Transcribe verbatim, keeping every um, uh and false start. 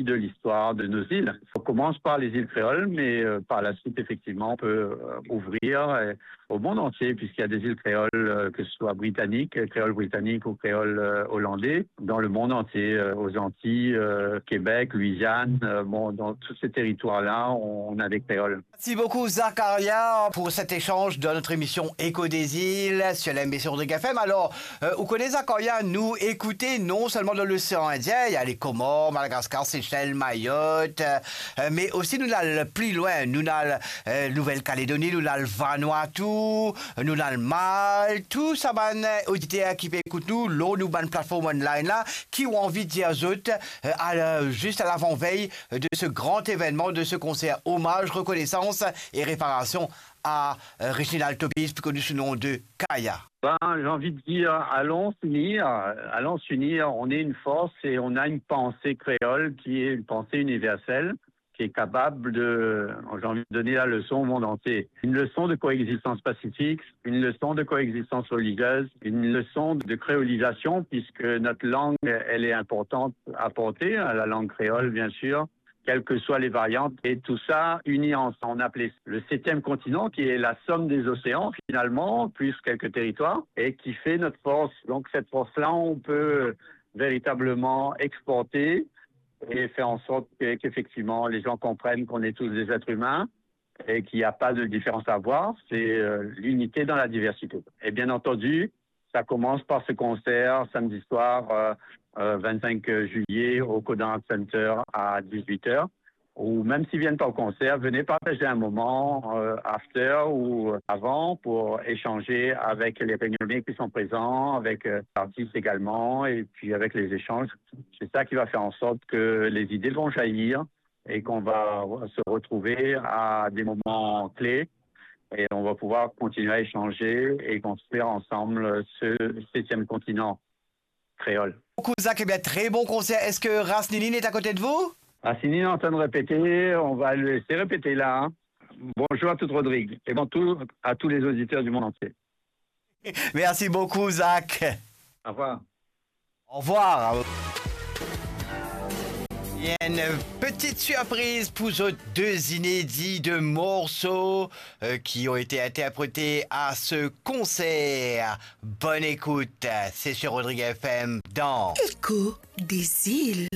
partie de l'histoire de nos îles. On commence par les îles créoles, mais, euh, par la suite, effectivement, on peut, euh, ouvrir, euh, au monde entier, puisqu'il y a des îles créoles, euh, que ce soit britanniques, euh, créole britannique ou créole, euh, hollandais, dans le monde entier, euh, aux Antilles, euh, Québec, Louisiane, euh, bon, dans tous ces territoires-là, on, on a des créoles. Merci beaucoup, Zakaria, pour cet échange dans notre émission Écho des îles sur la M B C Rodrigues F M. Alors, euh, vous connaissez, Zakaria, nous écouter non seulement dans l'océan Indien, il y a les Comores, Madagascar, Seychelles, Mayotte, euh, mais aussi nous allons plus loin, nous allons, euh, Nouvelle-Calédonie, nous allons Vanuatu, nous allons Malte, tout sa bann oditer ki pe ekout nou, lor nou bann platform online la, ki ou anvi dir zot, euh, à la, juste à l'avant-veille de ce grand événement, de ce concert hommage, reconnaissance et réparation à, euh, Reginald Topis, plus connu sous le nom de Kaya. Ben, j'ai envie de dire, allons s'unir, allons s'unir, on est une force et on a une pensée créole qui est une pensée universelle, qui est capable de, j'ai envie de donner la leçon au monde entier. Une leçon de coexistence pacifique, une leçon de coexistence religieuse, une leçon de créolisation, puisque notre langue, elle est importante à porter, hein, la langue créole, bien sûr, quelles que soient les variantes, et tout ça uni ensemble. On appelait le septième continent, qui est la somme des océans, finalement, plus quelques territoires, et qui fait notre force. Donc, cette force-là, on peut véritablement exporter et faire en sorte que, qu'effectivement, les gens comprennent qu'on est tous des êtres humains et qu'il n'y a pas de différence à voir. C'est, euh, l'unité dans la diversité. Et bien entendu, ça commence par ce concert samedi soir, euh, euh, vingt-cinq juillet au Codan Art Center à dix-huit heures. Ou même s'ils viennent pas au concert, venez partager un moment, euh, after ou avant pour échanger avec les Réunionnais qui sont présents, avec, euh, l'artiste également, et puis avec les échanges. C'est ça qui va faire en sorte que les idées vont jaillir et qu'on va se retrouver à des moments clés et on va pouvoir continuer à échanger et construire ensemble ce septième continent créole. Beaucoup, Zach, eh bien, très bon concert. Est-ce que Ras Nini est à côté de vous ? Ras Nini est en train de répéter, on va le laisser répéter là, hein. Bonjour à toute Rodrigue et bon, tout, à tous les auditeurs du monde entier. Merci beaucoup, Zach. Au revoir. Au revoir. Il y a une petite surprise pour zot, deux inédits de morceaux, euh, qui ont été interprétés à ce concert. Bonne écoute, c'est sur Rodrigue F M dans Écho des îles.